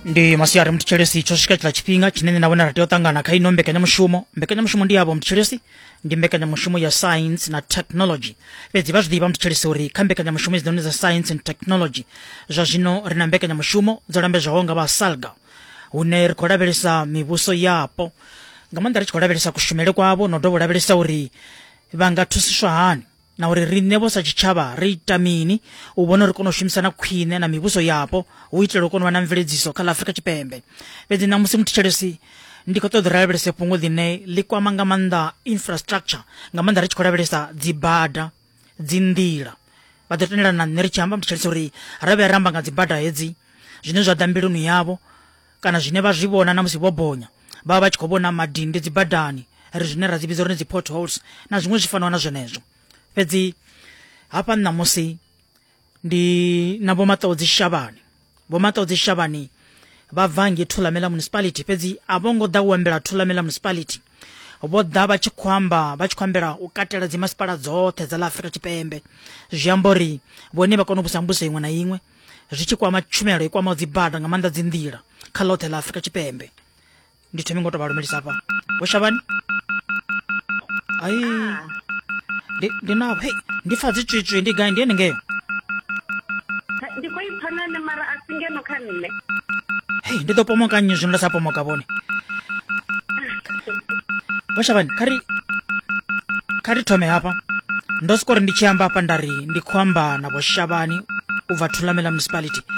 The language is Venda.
Ndi masiari mthetshelesi, tsho swika tshiḽa tshifhinga tshine nṋe na vhone ra tea u ṱangana kha ino mbekanyamushumo. Mbekanyamushumo ndi yavho mthetshelesi, ndi mbekanyamushumo ya science na technology. Fhedzi vha zwi ḓivha mthetshelesi uri kha mbekanyamushumo hedzinoni dza science and technology zwa zwino ri na mbekanyamushumo dzo lambedzwaho nga vha SALGA, hune ri khou lavhelesa mivhuso yapo nga maanḓa, ri tshi khou lavhelesa kushumele kwavho na u dovha u lavhelesa uri vha nga thusiswa hani na uri riṋe vho sa tshitshavha ri ita mini u vhona uri kone u shumisana khwine na mivhuso yapo hu itela u kona u vha na mveledziso kha ḽa Afrika Tshipembe. Fhedzi ṋamusi muthetshelesi ndi khou ṱoḓa ri lavhelese fhungo ḽine ḽi kwama nga maanḓa infrastructure, nga maanḓa ri tshi khou lavhelesa dzibada, dzinḓila. Vha ḓo tendelana na nṋe ri tshi amba muthetshelesi uri ra vhuya ra amba nga dzibada hedzi, zwine zwa ḓa mbiluni yavho kana zwine vha zwi vhona na musi vho bonya, vha vha vha tshi khou vhona madindi dzibadani, ri zwine ra dzi vhidza uri ndi dzi potholes na zwiṅwe zwi fanaho na zwenezwo. Fhedzi hafha ṋamusi ndi na Vho Maṱodzi Shavhani. Vho Maṱodzi Shavhani vha bva ngei Thulamela Municipality, fhedzi a vho ngo ḓa u ambela Thulamela Municipality, vho ḓa vha tshi khou amba vha tshi khou ambela u katela dzimasipala dzoṱhe dza ḽa Afrika Tshipembe. Zwi amba uri vhone vha kona u vhusa mbuso iṅwe na iṅwe zwi tshi kwama tshumelo i kwamaho dzibada, nga maanḓa dzinḓila kha ḽoṱhe ḽa Afrika Tshipembe. Ndi thome ngo to vha lumelisa hafha. Vho Shavhani, ai ndi ndi na hei ndi pfa dzi tswitswi, ndi gai? Ndi ene ngeo? Ndi khou ipfa na nṋe, mara a si ngeno kha nṋe. Hei, ndi ḓo pomoka nnyi zwino nda sa pomoka vhone? Vho Shavhani, kha ri thome hafha. Ndo soko ri ndi tshi amba hafha nda ri ndi khou amba na Vho Shavhani u bva Thulamela Municipality.